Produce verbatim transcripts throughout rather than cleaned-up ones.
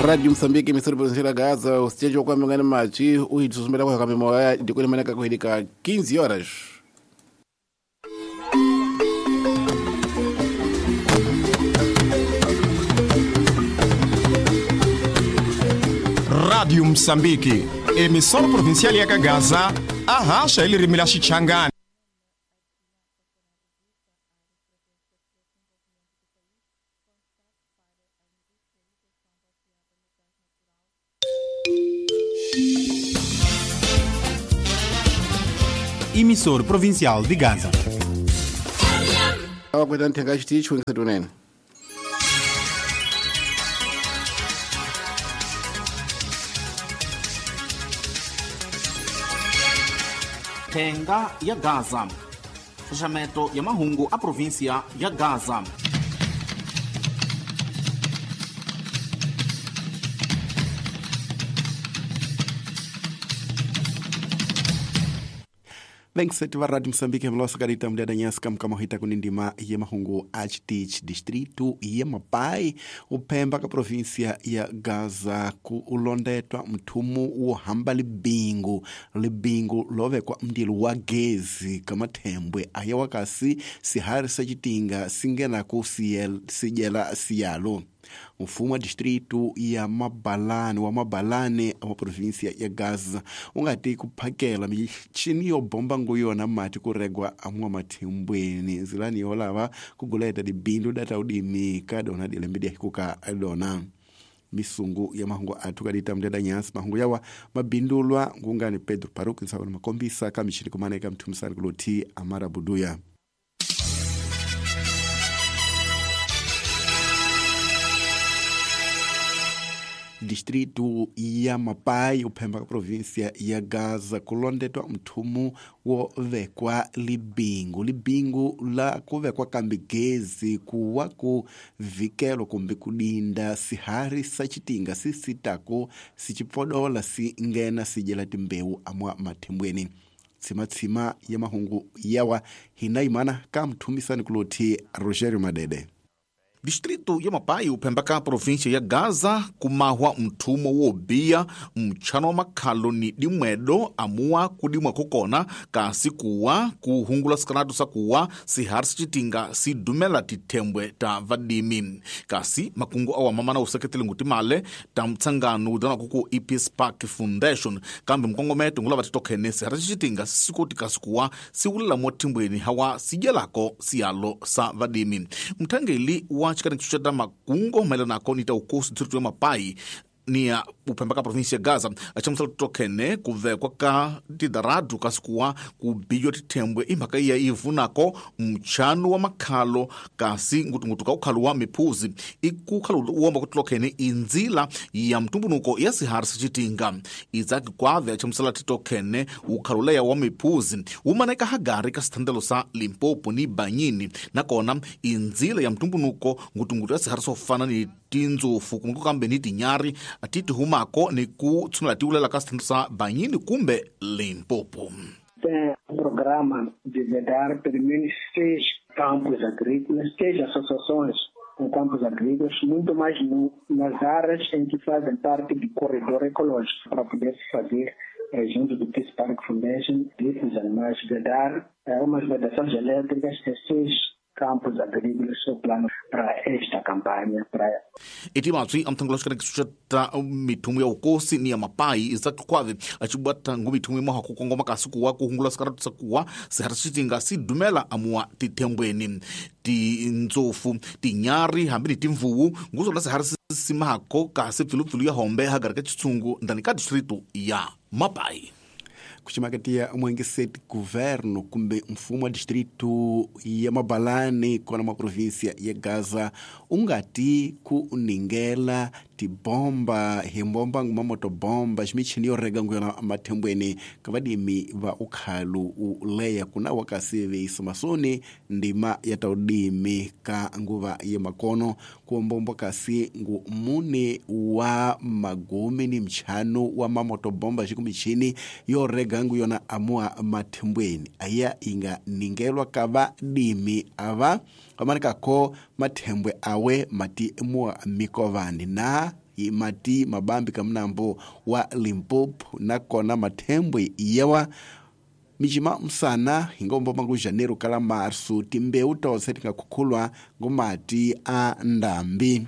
Rádio Moçambique, emissora provincial da Gaza, o sítio kwa mngani machi, uhitusumela kwa kamimoya, ndikoni manaka kuhilika quinze horas. Rádio Moçambique, emissora provincial ya Gaza, arracha ele rimila Xichangani. Emissor provincial de Gaza. Tenga ya Gaza. Fechamento ya mahungu a província ya Gaza. Vensete va Rádio Moçambique mlosa karita mdada nyasi kama hita kunindima ya mahungu H T H distrito ya Mapai upemba ka província ya Gaza ku ulondetwa mthumu wo hamba libingu libingu lovekwa mndilo wa gezi kamathembwe aya wakasi sihari sa chitinga singena ku sijela siyalo. Mfumo wa distrito ya Mabalane wa Mabalane wa província ya Gaza ungati kuphakela michini yo bomba nguyona mati kuregwa amwa mathembweni nzilani yolava kuguleta dibindu data udimi kadona dilembe kuka dona misungu ya mahungu athu kadita mdada nyasi mahungu yawa mabindulwa ngungani Pedro Paruki nsawona makombisa kamichini kumaneka mthumisani kuloti Amara Buduya. Distrito ya Mapai uphemba província ya Gaza kulondetwa mthumu wo vekwa libingu libingu la kuvekwa kambi gezi kuwa ku vikelo kumbe kudinda sihari sa chitinga sisitako sichipfodola singena sijela timbewu amwa mathembweni. Tsimatsima ya mahungu yawa hinaimana ka mthumisani kuloti Rogerio Madede. Distrito ya Mapai uphembaka a província ya Gaza kumahwa mthumo wo biya mtchano wa makhalo ni dimwedo amuwa kudimwa kukona kasi kuwa kuhungula sikanatu sakuwa sihari sichitinga sidumela tithembwe ta vadimi kasi makungu awa mamana useketele ngutimale ta mtsangano udana kuku E P Spark Foundation kambe mkongometo ngula vatitokhene sihari sichitinga sikoti kasi kuwa siwulela mothimbweni hawa sidyelako siyalo sa vadimi. Mthangeli wa chikani cha makungo maelana nita ukosi distrito ya Mapai ni ya uphembaka província ya Gaza achamusala tokhene kuvekwa ka tidaradu kasikuwa kubiywa tithembwe imhaka iya ivunako mtchano wa makhalo kasi ngutungutu ka ukhalo wa miphuzi ikukhalo uwomba kuti tokhene inzila ya mtumbunuko ya sihari sichitinga Izaki kwave achamusala titokhene ukhalo leya wa miphuzi umaneka hagari ka sithandelo sa Limpopo ni Banyini nakona inzila ya mtumbunuko ngutungutu ya sihari sofana ni tindzofu kumbe kambe ni tinyari atiti humako ni ku tshunela tiulela ka sithandelo sa Banyini kumbe Limpopo. Tem um programa de vedar pelo menos seis campos agrícolas, seis associações com campos agrícolas, muito mais no, nas áreas em que fazem parte do corredor ecológico, para poder se fazer, eh, junto do Peace Park Foundation, desses animais, vedar eh, umas vedações elétricas de seis campos agrícolas o plano para esta campanha para itimatswi amthangoloxikana kisuxeta mithumu ya ukosi ni ya Mapai Isaac Kwave achibwata ngu mithumu imaha kukongoma kasi kuwa kuhungula sikaratu sakuwa sihari sitinga sidumela amuwa tithembweni tindzofu tinyari hambi ni timvuwu nguzona sihari simahako kasi pfilupfilu ya hombe hagari ka chitsungu ndani ka distrito ya Mapai. Kuchimakatia mwengeseti governo kumbe mfumo wa distrito ya Mabalane kona ma província ya Gaza ungati ku ningela tibomba himbomba ngumamotobomba ximichini yo rega nguyona mathembweni ka vadimi va ukhalu uleya kuna wakasi veisa masoni ndima ya taudimi ka nguva ya makono kuombomba kasi ngu mune wa magumi ni mchano wa mamotobomba xikumichini yo rega nguyona amua mathembweni aya inga ningelwa ka vadimi ava vamanikako mathembwe awe mati mua mikovani na mati mabambi kamnambo wa Limpopo nakona mathembwe yawa michima msana hingombo mangu janeiro kala marsu timbeu tose tingakhukhulwa ngomati a ndambi.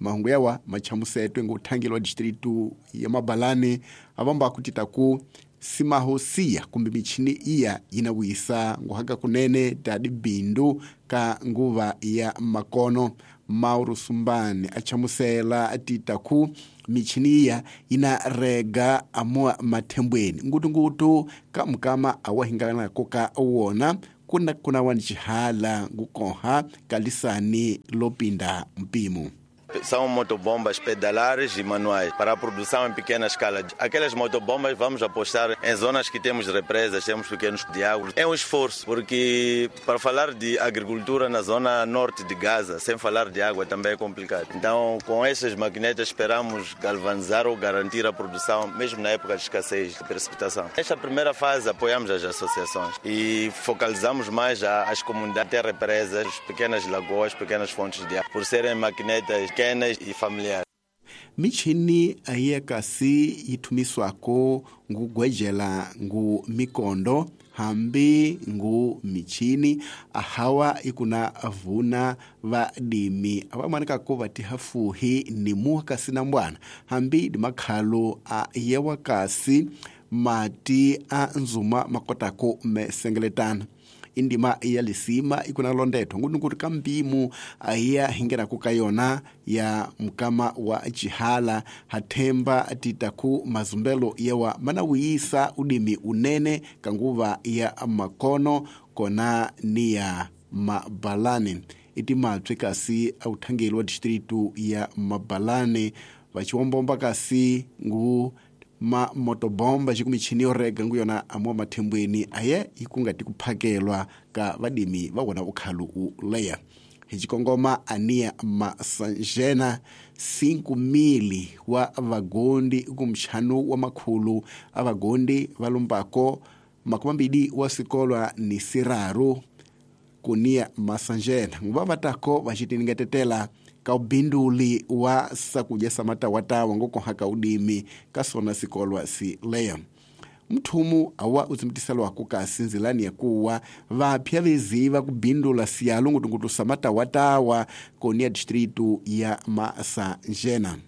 Mahungu yawa machamusetwe nguthangilwa distritu ya Mabalane avamba kutitaku simahosiya kumbe michini iya yinawisa nguhaka kunene tadi bindu ka nguva ya makono. Mauro Sumbani achamusela atitaku michini iya inarega amua mathembweni ngutungutu ka mukama awahinganako ka wona kuna kuna wanichihala ngukoha kalisani lopinda mpimo. São motobombas pedalares e manuais para a produção em pequena escala. Aquelas motobombas vamos apostar em zonas que temos represas, temos pequenos diagos. É um esforço, porque para falar de agricultura na zona norte de Gaza, sem falar de água, também é complicado. Então, com essas maquinetas, esperamos galvanizar ou garantir a produção, mesmo na época de escassez de precipitação. Nesta primeira fase, apoiamos as associações e focalizamos mais as comunidades, ter represas, pequenas lagoas, pequenas fontes de água, por serem maquinetas pequenas e familiares. Michini ayiya kasi yithumiswako ngugwejela ngu mikondo hambi ngu michini ahawa ikuna vuna vadimi avamanikako vatihafuhi ni muwa kasi na mbwana hambi dimakhalo a yewa kasi mati a nzuma makotako mesengeletana. Indima ya lisima ikuna londetho ngunukuti kampimu ahiya hingerako ka yona ya mukama wa chihala hathemba titaku mazumbelo yewa manawiyisa udimi unene kanguva ya makono kona ni ya Mabalane. Iti mapye kasi authangeli wa distritu ya Mabalane vachiwombomba kasi ngu ma motobomba xikumichini yo rega nguyona amwa mathembweni aye ikungati kuphakelwa ka vadimi va wona ukhalu u leya. Hi xikongoma ania masanjena cinco mil wa vagondi kumchanu wa makhulu a vagondi va lumbako makumambili wa sikolwa ni siraru kunia masanjena nguva vatako vacitiningetetela ka ubinduli wa sakuja samatawatawa ngokohaka udimi kasona sikolwa si leya. Mthumu awa uzimtiselwako kasi nzilani ya kuwa vapya veziva kubindula siyalo ngutungutu samatawatawa konia distritu ya Masanjena.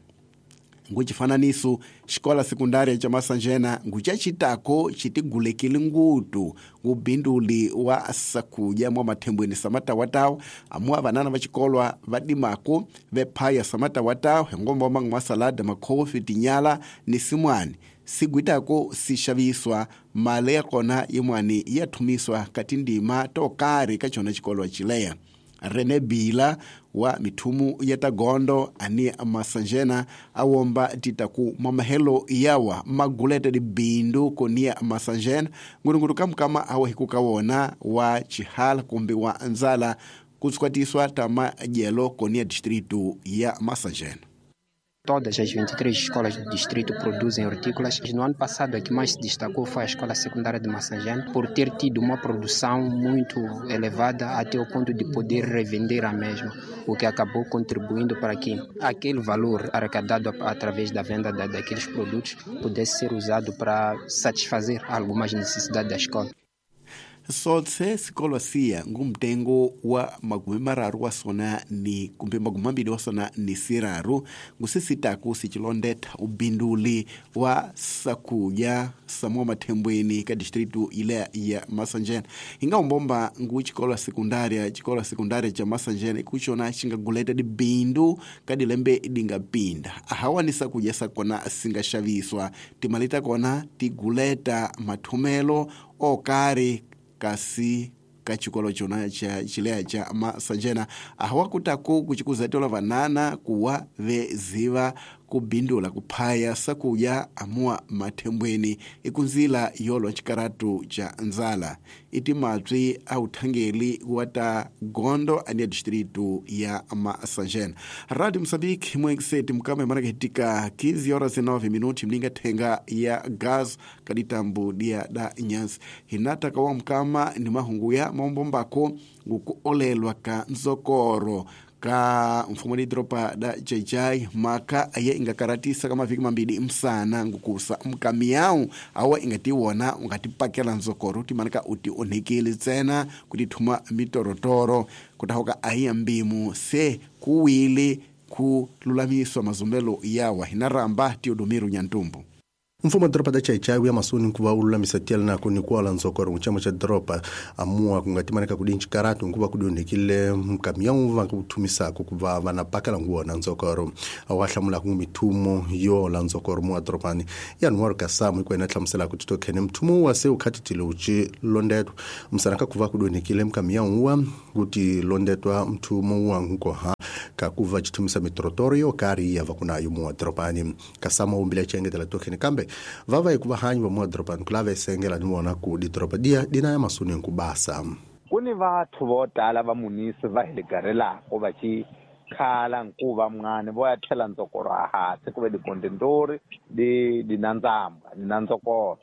Nguchifananiso xikola sekundária cha Masanjena nguchachitako chitigulekile ngutu ngubinduli wa sakuja mwa mathembweni samatawatawa amwa vanana va xikolwa va dimako vephaya samatawatawa hingomba mangu masalada makhofi tinyala ni simwani sigwitako sixaviswa mali ya kona yimwani ya thumiswa ka tindima to karhi ka chona xikolwa chileya. René Bila wa mithumu ya tagondo ani Masanjena awomba titaku mamahelo yawa magulete di bindu konia Masanjena ngurunguru kamkama awa hikukawona wa chihala kumbi wa nzala kutsukwatiswa tama jelo konia distritu ya Masanjena. Todas as vinte e três escolas do distrito produzem hortícolas. No ano passado, a que mais se destacou foi a Escola Secundária de Massangena, por ter tido uma produção muito elevada até o ponto de poder revender a mesma, o que acabou contribuindo para que aquele valor arrecadado através da venda da, daqueles produtos pudesse ser usado para satisfazer algumas necessidades da escola. Sotse sikolo siya ngumtengo wa magumi mararu wa sona ni kumbe magumi mambili wa sona ni siraru ngusisitaku sichilondetha ubinduli wa sakuja samwa mathembweni ka distritu ile ya Masanjena. Ingaombomba ngu chikola sekundária chikola sekundária cha Masanjena ikuchona chingaguleta dibindu kadilembe dingapinda ahawa ni sakuja sakona singaxaviswa timalita kona tiguleta mathumelo okari kasi ka chikolo chona cha chilea cha Masanjena ahawakutako kuchikuzatola vanana kuwa veziva kubindula kuphaya sakuya amua mathembweni ikunzila yolwa chikaratu cha nzala iti mapyi authangeli wa ta gondo ania distritu ya Masanjena. Radio Mozambique mwekiseti mkama imanakihitika quinze horas e nove minutos mlinga thenga ya gas kaditambu dia da nyansi hinata kawa mkama ni mahungu ya maombombako ngukuolelwa ka nzokoro Ka mfumo ni dropa da Xai-Xai maka aye ingakaratisa ka mavhiki mambili msana ngukusa mkamiyau awa ingatiwona ungatipakela nzokoro timanaka uti onhekele ntsena kuti thuma mitorotoro kutahoka ahiya mbimu se kuwile ku lulamiswa mazumbelo yawa hinaramba Teodomiro Nyantumbu. Mfumo wa doroba da Xai-Xai wuya masoni kuva wu lulamisa tiyela nako ni kuala nzokoro muchama cha doroba amua kungatimaneka kudinchi karatu nkuva kudionekile mkamiyamu va kuthumisako kuva vana pakela nguwona nzokoro awa hlamulaka mithumo yo la nzokoro mu wa dorobani ya Kasamu ikwena hlamuselaka titokhene mthumo wa se ukhatithile uchi londetwa msanaka kuva kudionekile mkamiyamu wa kuti londetwa mthumo wa nkoha kakuva chithumisa mitorotoro yo kari yava kunayo mu wa dorobani. Kasamu wumbile chengetela tokhene kambe vava ikuva hanyi va muadorobani kulava esengela ni vona ku didoroba diya dina ya masoni nkubasa. Ku ni vathu vo tala va munisi va hi ligarelako va ci khala nkuva mngani vo ya tlhela ndzokoro ahansi ku ve dikondentori di di na ndzamba di na ndzokoro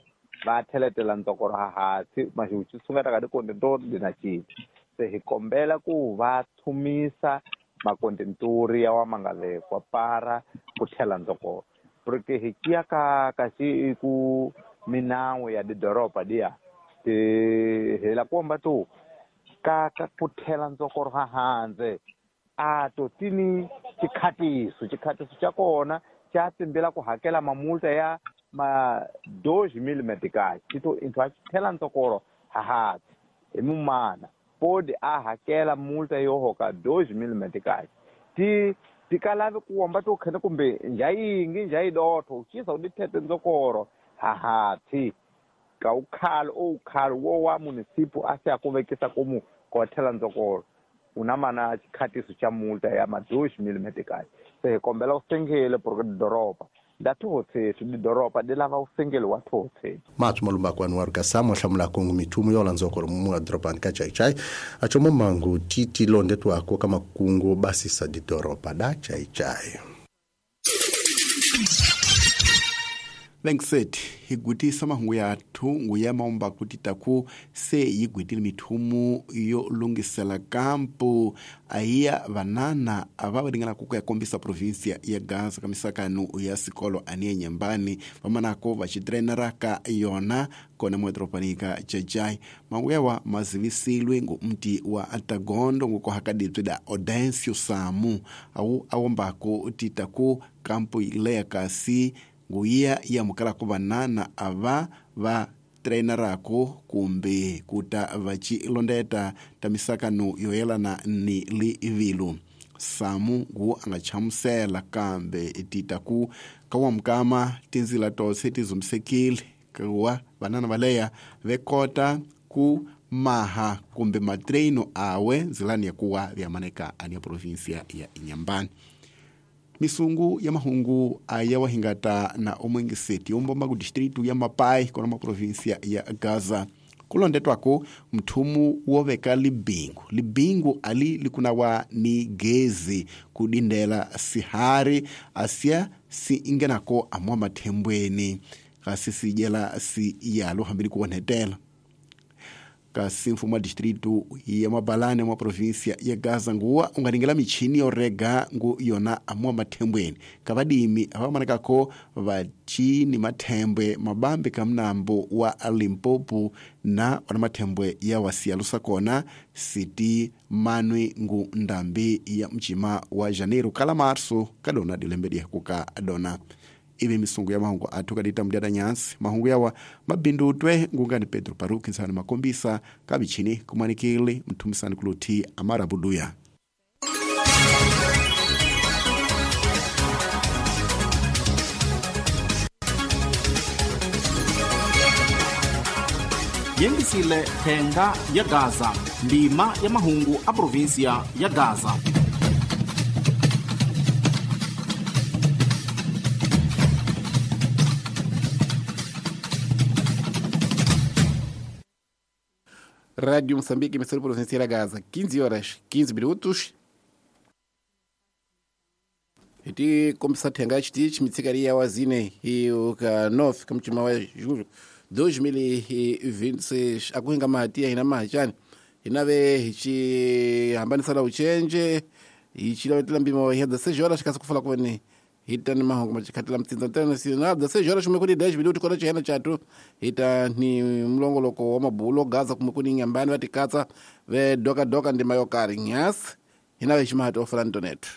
va tlheletela ndzokoro ahansi maxi xi sungeta ka dikondentori di na cinca se hi kombela ku va thumisa makondentori ya wa ma nga vekwa para ku tlhela ndzokoro porque hi kiya ka ka xi ku minawu ya didoroba diya ti hela komba tu ka ka ku tlhela ndzokoro ha handze a to tini xikhatiso xikhatiso xa kona xa tsimbela ku hakela mamulta ya ma dois mil meticais xito into a tlhela ndzokoro ha hansi hi mumana pode a hakela multa yo hoka dois mil meticais ti tikalavi ku womba to khene kumbe njhayingi njhayidotho ucisa u dithete ndzokoro hahathi ka ukhalo oukhalo wo wa munisipu a se a ku vekisa komu kothela ndzokoro una mana xikhatiso xa multa ya ma dois mil meticais se hi kombela u sengele porque doroba nda thohotshethu didoroba di lava u sengele wa thohotshethu. Mathu malumbakwani wa Kasamu hlamula kongo mithumo yo landzokoro mu wa dorobani ka Xai-Xai achomo mangu titi londetwako ka makungu basisa didoroba da Xai-Xai. Vengset higutisa mahungu ya thungu ya maumba kuti taku se yigwitile mithumu yo lungisela kampu ahiya vanana ava va ringana ku ya kombisa provinsia ya Gaza ka misakanu ya sikolo aniye nyambani vamanako va xitrenera ka yona kona muedoropanika Xai-Xai mahungu yawa mazivisilwe ngu mti wa Atagondo ngukohakadibye da Odencio Samu awu awombako titaku kampu ileya kasi nguya yamukalako vanana ava va treinarako kumbe kuta vacilondeta ta misakano yo yelana ni livilu. Samu ngu anga chamusela kambe titaku kawamukama tinzila tose tizumsekile kuwa vanana valeya vekota ku maha kumbe matreino awe nzilani ya kuwa vyamaneka ani provinsia ya Inhambane. Misungu ya mahungu aya wahingata na omwengeseti yombomba ku distritu ya Mapai kona ma provinsia ya Gaza. Kulondetwako mthumu woveka libingu. Libingu ali likunawa ni gezi kudindela sihari asia si ingenako amwa mathembweni kasi sijela si yalo hambili kuonetela. Kasi mfumo wa distritu ya Mabalane mwa provinsia ya Gaza nguwa ungaringela michini yorega ngu yona amwa mathembweni kavadimi avamanekako vachini mathembwe mabambe kamnambo wa Limpopo na wana mathembwe ya wasialusa kona siti manwi ngu ndambi ya mchima wa Janeiro kala Marso kadona dilembedi kuka dona. Ibe misungu ya mahungu atuka dita mdiada nyansi mahungu yawa mabindutwe ngungani Pedro Paruki nsani makombisa kabichini kumanikili mtumisani kuluti Amara Buduya. Yengisile thenga ya Gaza ndima ya mahungu a provinsia ya Gaza. Rádio Moçambique, emissora provincial Gaza, quinze horas, quinze minutos. Iti komisa thenga chiti mitsikari ya wazine iyo ka nove kamchima wa julho dois mil e vinte e seis akuhinga mahatia hina mahachani hinave hichi hambanisana uchenje Hi chilavetela mpimo ya dezesseis horas kasi kufala kuveni hita ni mahungu macikhatela mtsindza internacional dezesseis horas kumwe kuni dez minutos kona chihena chatu hita ni mlongoloko wa mabulo Gaza kumwe kuni nyambani vatikatsa ve doka doka ndima yo karhi nyasi hina veximahati ofela ntonetu.